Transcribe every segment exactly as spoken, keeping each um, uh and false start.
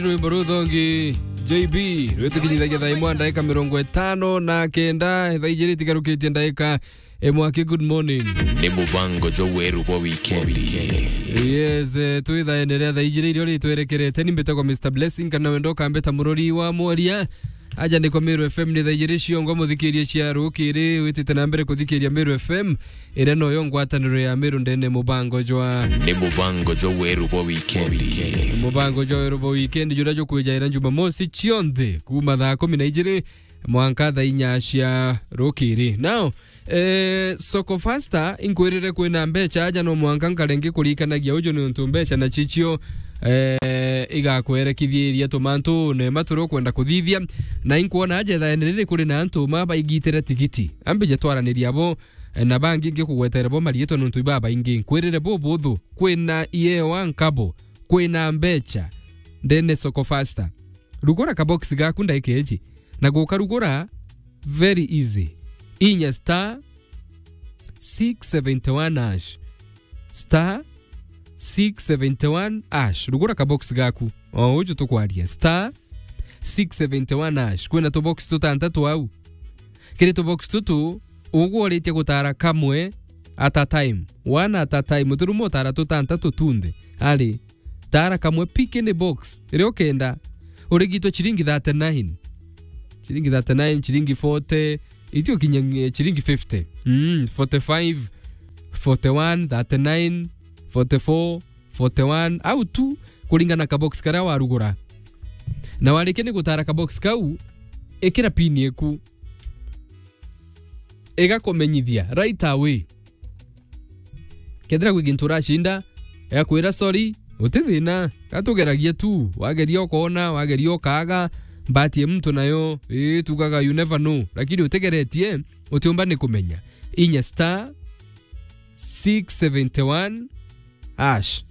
Rwimbo ruu thongi, J B, rwitukinyithagia thaa imwe ndaika mirongo itano na kenda, thaa ijiri itigarukitie ndaika imwe aki. Good morning. Ni mubango jwa weru bwa wikendi. Yes, eh, twi thaene ria thaa ijiri irio ritwerekerete, ni mbitagwa Mister Blessing, kana wendo ukambita murori wa mworia. Aja ni kwa Meru F M ni thaa ijiri ciongo, muthikirie cia rukiri, witite na mbere kuthikiria Meru F M, iria noyo ngwataniro ya Meru ndene mubango jwa. Ni mubango jwa weru bwa wikendi. Mubango jwa weru bwa wikendi, juria jukwijaira Jumamosi cionthe, kuma thaa kumi na ijiri mwanka thaa inya cia rukiri. Now, eh, Soko Fasta, inkwirire kwina mbecha aja, no mwanka nkare ngikurikanagia uju, niuntu mbecha na chichio, eh, igakwerekithieria tumantune ma turia ukwenda kuthithia. Na inkwona aja ithaene riri kuri na antu ma baigitire tigiti. Ambije twaraniria bo, eh, na bangi ngikugwetera bo mariitwa niuntu ibabaingi. Nkwirire bubuthu, kwina iewa nkabo, kwina mbecha ndene Soko Fasta. Rugura kabox gaku ndaika iji, na gukarugura very easy. Inya star six seventy one hash. Star six seventy one hash. Rugura kabox gaku. O uju tukwaria. Star six seventy one hash. Kwina tubox tutantatu au. Kiri tubox tutu, ugworitie gutara kamwe at a time. One at a time. Utiruma utara tutantatu tunthe. Ari, tara kamwe pick any box iria ukenda. Urigitwe chiringi thirty nine. Chiringi thirty nine, chiringi forty, itio kinya, eh, chiringi fifty. Mm, forty five, forty one, thirty nine, forty four, forty one, au tu, kuringana na kabox karia warugura. Na warikia ni gutara kabox kau, ikira pin iku. Igakumenyithia right away. Kethira gwi gintu uracinda, igakwira, "Sorry, guti thina, gatugeragia tu." Wageria ukoona, wageria ukaaga, mbati ya muntu nayo, ii, tugaga, you never know. Lakini utigeretie, utiumba ni kumenya. Inya star six seventy one hash.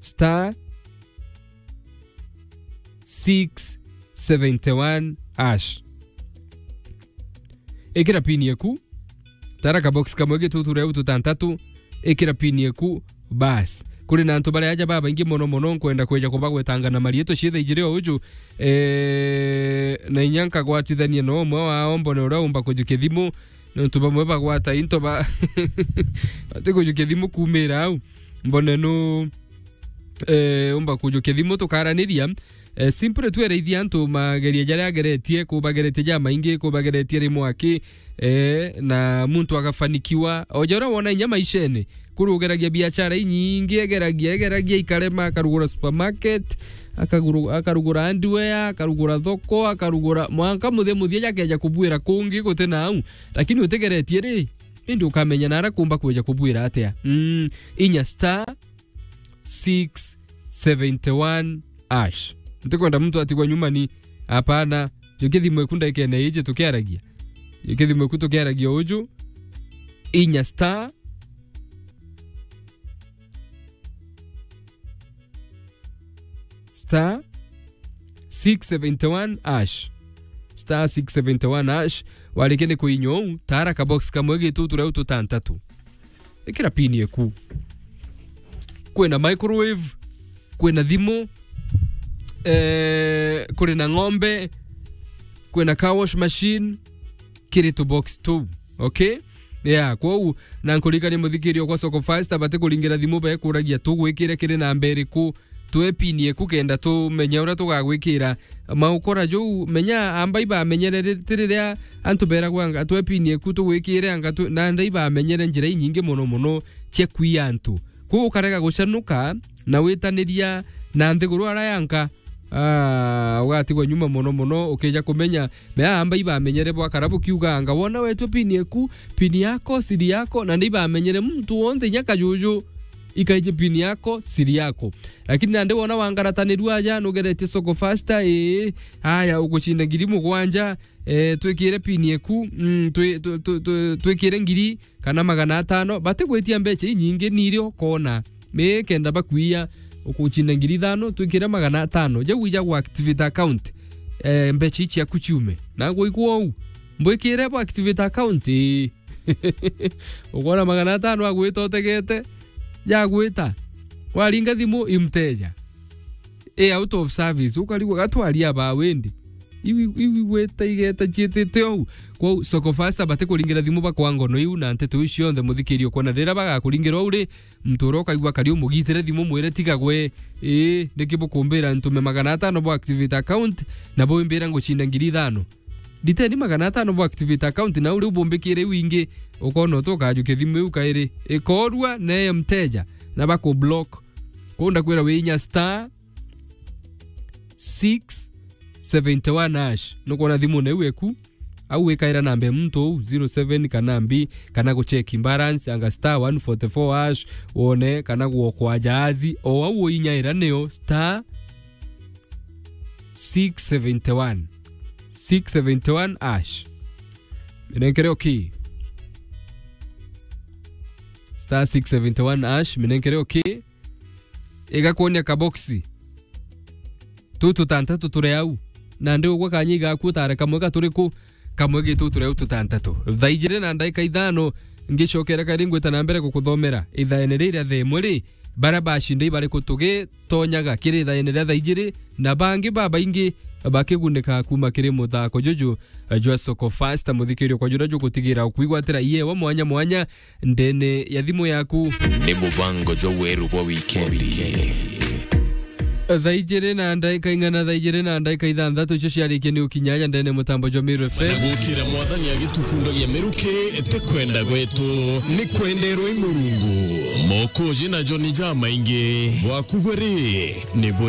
Star six seventy one hash. Ikira pin yaku, tara kabox kamwe gituture au tutantatu, ikira pin yaku, bas. Kuri na antu baria aja babaingi mono mono, nkwenda kweja kubagwetanga na mariitwa ciitha ijiri o uju, eh, na inya nkagwatithania na umwe wao, mbone uria umba kujukia thimu, niuntu bamwe bagwata into ba-, bati kujukia thimu kuumira au. Mbone nu, eh, umba kujukia thimu tukaraniria. Eh, simply tu eraithia antu mageria jaria ageretie, kubageretie jamaingi, kubageretie rimwe aki, eh, na muntu agafanikiwa. O ja uria wona inya maishene, kuri ugeragia biashara inyingi, egeragia, egeragia ikarema, akarugura supermarket, akaguru-, akarugura hardware, akarugura thoko, akarugura mwanka muthia muthia jakeja kubwira kungi guti na au. Lakini utigeretie ri, indi ukamenya nara kumba kweja kubwira atia. Mm, inya star six seventy one hash. Ntikwenda muntu atigwa nyuma ni, hapana. Jukia thimu eku ndaikene iji tukiaragia. Jukia thimu eku tukiaragia uju. Inya star star six seventy one hash. Star six seventy one hash. Warikia ni kuinya uu, tara kabox kamwe gituture au tutantatu. Ikira pin eku. Kwina microwave, kwina thimu, eh, kuri na ng'ombe, kwina car wash machine, kiri tu box tu. Okay? Yeah, kwou, na nkuririkania muthikiria kwa Soko Fasta, bati kuringira thimu, bekuragia tugwikire kiri namba iriku, twe pin eku kenda tumenye uria tugagwikira. Maukora juu, menya amba ibamenyere ri-, ti riria antu beragwa anga twe pin eku tugwikire anga tu-, na nda ibamenyere njira inyingi mono mono cia kwiya antu. Kwou ukarega gucanuka na witaniria na nthiguru ara yanka. Ah, ugatigwa nyuma mono mono, ukija kumenya, mea amba ibamenyere bwakara bukiuga anga, wona wetwe pin eku, pin yako, siri yako, na ni ibamenyere muntu wonthe, inya kajuju, ikaije pin yako, siri yako. Lakini nandi wona wangaratanirua aja, nugeretie Soko Fasta, ii, aya, ugucinda ngiri mugwanja, eh, twikire pin eku, mm, twi-, twi-, twi-, twi-, twikire ngiri, kana magana atano, batigwitia mbecha inyingi, ni iria ukona. Mi kenda bakwiya, ukucinda ngiri ithano, twikire magana atano. Jau ija gwa activate account, eh, mbecha ici ciaku ciume. Na ngwikwo ou, mbwikire bo activate account, ii. Ukona magana atano agwita utegete, jagwita. Waringa thimu i mteja. I out of service. Ukarigwa gatwaria ba wendi. Iwi, iwi gweta igeta cietete ou. Kwou Soko Fasta batikuringira thimu bakwa ngono iu na nteto iu cionthe, muthikiria ukwona riria bagakuringira ou ri, muntu uria ukaigua kari umugitire thimu mwire tiga gwe. Ii, niki bukumbira ntume magana atano bwa activate account na bwimbira ngucinda ngiri ithano? Nditeni magana atano bwa activate account na uri ubumbikire iu ingi, ukona utu ukajukia thimu iu kairi. Ikorua na mteja na baku block. Kwou ndakwira wiinya star six seventy one hash. Nukwona thimu na iu eku? Au wikaira namba ya muntu uu zero seven kana mbi, kana gucheki balance, anga star one forty four hash, wone kana gwokwa jahazi. O au uinyaira niyo star six seventy one. Six seventy one hash. Minenkere okay. Star six seventy one hash, minenkere okay. Igakwonia kaboksi. Tu tutantatu turi au. Na ndi ugwe kanya igaku utare kamwe ga turiku, kamwe gitu turi au tutantatu. Thaa ijiri na ndaika ithano, ngicokera kari ngwita na mbere gukuthomera ithaene riria thaa imwe ri, bara bacinda ibariku tugitonyaga kiri ithaene ria thaa ijiri, na bangi babaingi bakigunika kuma kiri muthako juju jwa Soko Fasta. Muthikirio kwa juria jugutigira ukwigwatira iewa mwanya mwanya ndene ya thimu yaku. Ni mubango jwa weru bwa wikendi. Thaa ijiri na ndaika ing'ana, thaa ijiri na ndaika ithanthatu icio ciarikia ni ukinya aja ndene mutambo jwa Meru F M. Na gukira Mwathani agitukundagia miruki, ti kwenda gwetu, ni kwenderwa i Murungu. Mokoji na Joni jamaingi, bwaku gwe ri, ni bu-